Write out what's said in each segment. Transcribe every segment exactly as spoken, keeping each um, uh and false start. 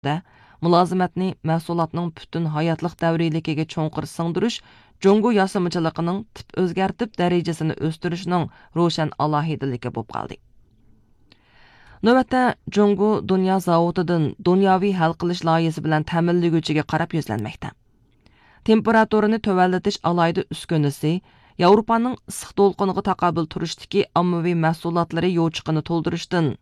مۇلازىمەتنى مەھسۇلاتنىڭ پۈتۈن ھاياتلىق دەۋرىيلىكىگە چوڭقۇر سىڭدۈرۈش جۇڭگو ياسىمىچىلىقىنىڭ تىپ ئۆزگەرتىپ دەرىجىسىنى ئۆستۈرۈشنىڭ روشەن ئالاھىدىلىكى بولۇپ قالدى. نۆۋەتتە، جۇڭگو دۇنيا زاۋۇتىدىن دۇنياۋى ھەل قىلىش لايىھىسى بىلەن تەمىنلىگۈچىگە قاراپ يۈزلەنمەكتە. تېمپېراتۇرىنى تۆۋەنلىتىش ئالاھىدە ئۈسكۈنىسى، ياۋروپانىڭ ئىسسىق دولقۇنىغا تاقابىل تۇرۇشتىكى ئاممىۋى مەھسۇلاتلىرى يوچۇقىنى تولدۇرۇشتىن،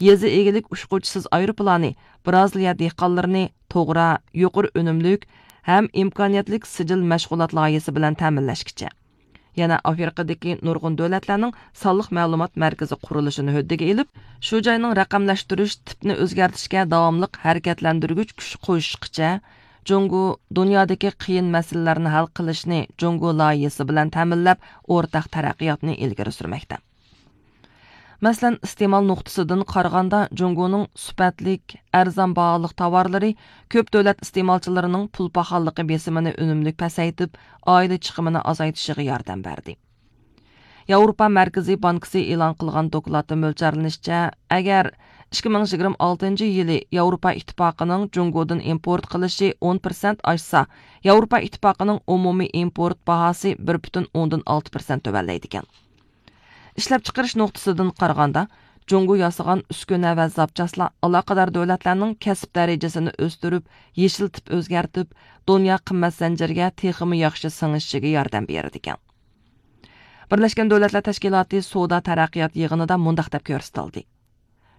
يېزا ئىگىلىك ئۇچقۇچىسىز ئايروپىلانى برازىلىيە دېھقانلىرىنى توغرا، يۇقىرى ئۈنۈملۈك ھەم ئىمكانىيەتلىك سىجىل مەشغۇلات لايىھىسى بىلەن تەمىنلەشكىچە، يەنە ئافرىقىدىكى نۇرغۇن دۆلەتلەرنىڭ سانلىق مەلۇمات مەركىزى قۇرۇلۇشىنى ھۆددىگە ئېلىپ، شۇ جاينىڭ رەقەملەشتۈرۈش تىپىنى ئۆزگەرتىشكە داۋاملىق ھەرىكەتلەندۈرگۈچ كۈچ قوشۇشقىچە، جۇڭگو دۇنيادىكى قىيىن مەسىلىلەرنى ھەل قىلىشنى جۇڭگو لايىھىسى بىلەن تەمىنلەپ، ئورتاق تەرەققىياتنى ئىلگىرى سۈرمەكتە. مەسىلەن، ئىستېمال نۇقتىسىدىن قارىغاندا، جۇڭگونىڭ سۈپەتلىك، ئەرزان باھالىق تاۋارلىرى كۆپ دۆلەت ئىستېمالچىلىرىنىڭ پۇل پاخاللىقى بېسىمىنى ئۈنۈملۈك پەسەيتىپ، ئائىلە چىقىمىنى ئازايتىشىغا ياردەم بەردى. ياۋروپا مەركىزىي بانكىسى ئېلان قىلغان دوكلاتتا مۆلچەرلىنىشىچە، ئەگەر ئىككى مىڭ يىگىرمە ئالتىنچى يىلى ياۋروپا ئىتتىپاقىنىڭ جۇڭگودىن ئىمپورت قىلىشى ئون پىرسەنت ئاشسا، ياۋروپا ئىتتىپاقىنىڭ ئومۇمىي ئىمپورت باھاسى بىر پۈتۈن ئوندىن ئالتە پىرسەنت تۆۋەنلەيدىكەن. ئىشلەپچىقىرىش نۇقتىسىدىن قارىغاندا، جۇڭگو ياسىغان ئۈسكۈنە ۋە زاپچاسلار ئالاقىدار دۆلەتلەرنىڭ كەسىپ دەرىجىسىنى ئۆستۈرۈپ، يېشىل تىپ ئۆزگەرتىپ، دۇنيا قىممەت زەنجىرىگە تېخىمۇ ياخشى سىڭىشىشىگە ياردەم بېرىدىكەن. بىرلەشكەن دۆلەتلەر تەشكىلاتى سودا تەرەققىيات يىغىنىدا مۇنداق دەپ كۆرسىتىلدى: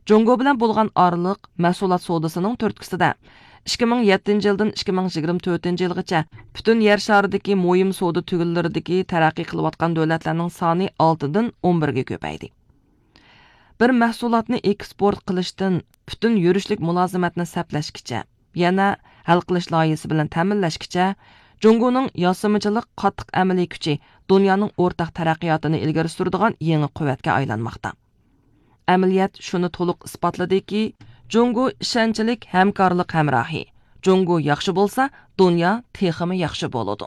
جۇڭگو بىلەن بولغان ئارىلىق مەھسۇلات سودىسىنىڭ تۈرتكىسىدە، ئىككى مىڭ يەتتىنچى يىلدىن ئىككى مىڭ يىگىرمە تۆتىنچى يىلغىچە پۈتۈن يەر شارىدىكى مۇھىم سودا تۈگۈنلىرىدىكى تەرەققىي قىلىۋاتقان دۆلەتلەرنىڭ سانى ئالتىدىن ئون بىرگە كۆپەيدى. بىر مەھسۇلاتنى ئېكسپورت قىلىشتىن پۈتۈن يۈرۈشلۈك مۇلازىمەتنى سەپلەشكىچە، يەنە ھەل قىلىش لايىھىسى بىلەن تەمىنلەشكىچە، جۇڭگونىڭ ياسىمىچىلىق قاتتىق ئەمەلىي كۈچى دۇنيانىڭ ئورتاق تەرەققىياتىنى ئىلگىرى سۈرىدىغان يېڭى قۇۋۋەتكە ئايلانماقتا. ئەمەلىيەت شۇنى تولۇق ئىسپاتلىدىكى، جۇڭگو ئىشەنچلىك ھەمكارلىق ھەمراھى. جۇڭگو ياخشى بولسا، دۇنيا تېخىمۇ ياخشى بولىدۇ.